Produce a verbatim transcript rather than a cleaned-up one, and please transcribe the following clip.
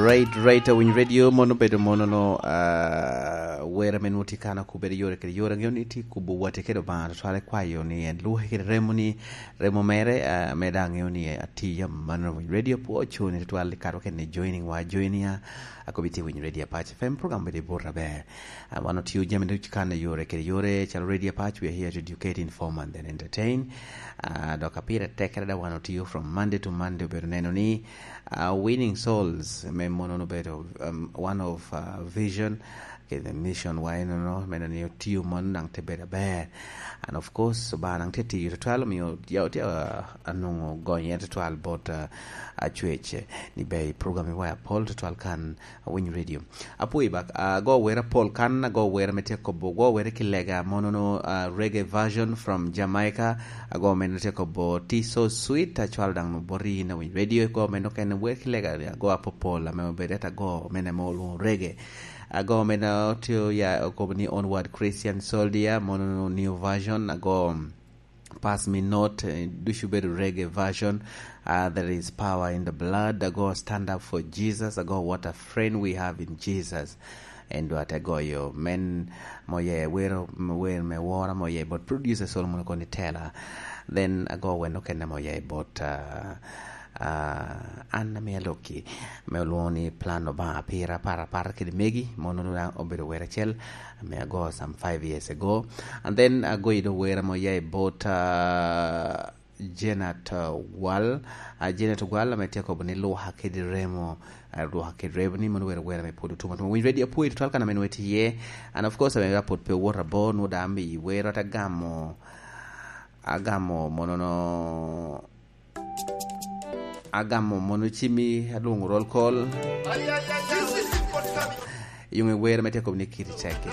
Right, right, Awiny Radio, mono obedo mono no, ah, wer ame nwoŋo tye kan okubere yore kede yore, aŋeo ni tye kubo wati kede Obaŋa, tutwale kwayo ni en luke kede remo ni, remo mere, ah, me daŋ aŋeo ni atiya man Awiny Radio pwo ocuni tutwal i kato kene joining wa, joinia, akobi tye Awiny Radio Apac F M, program bedo i bur aber. Ah, wan otio jami ducu kan i yore kede yore, calo Radio Apac, we are here to educate, inform, and then entertain. Ah, dok a pire tekkere da wan otio from Monday to Monday, obedo neno ni, ah, winning souls, me mono obedo, um, one of, ah, vision, kede mission wa enono, me neno ni otio mono daŋ te bedo aber. And of course, Obaŋa daŋ te tiyo tutwal, omio ya otye, ah, anwoŋo gonye tutwal bot, ah, acwec, ni be i program i wa apol tutwal kan Awiny Radio. Apwoyi bak, ago wer apol kan, ago wer ame tye kobo, ago wer ki lega monono, ah, reggae version from Jamaica, ago meno tye kobo Tea So Sweet, acwalo daŋ boti in Awiny Radio, ago meno kene wer ki lega, ago apopol ame obedo et ago mene ame olwoŋo reggae. Ago meno tye ya okobo ni Onward Christian Soldier, monono new version, ago Pass Me Not, eh, ducu bedo reggae version. Ah, There Is Power in the Blood. Ago Stand Up for Jesus. Ago What a Friend We Have in Jesus. En dwa te goyo men moye wero, wer me wora moye bot producer Solomon Okoni Tela. Then ago wen okene moye bot, ah, ah, an ame alokki, me olwoŋo ni Plan Obaŋa Pira, Para, Para kede Megi, mono daŋ obedo wer acel. Ame ago some five years ago. And then ago ido wer ame oya i bot, ah, Janet, ah, Wal. Ah, Janet Wal ame tye kobo ni Lwaka kede Remo, ah, Lwaka kede Remo ni mono wer, wer ame pwod otum atuma. Winy ready apwoyi tutwal kan ame nwe tye iye. And of course, ame apwod pe owot abo, nwo da ame i wer, ata gamo, agamo monono, agamo mono cimi, alwongo roll call. Yung i wer me tye kobo ni Kiti Ceke.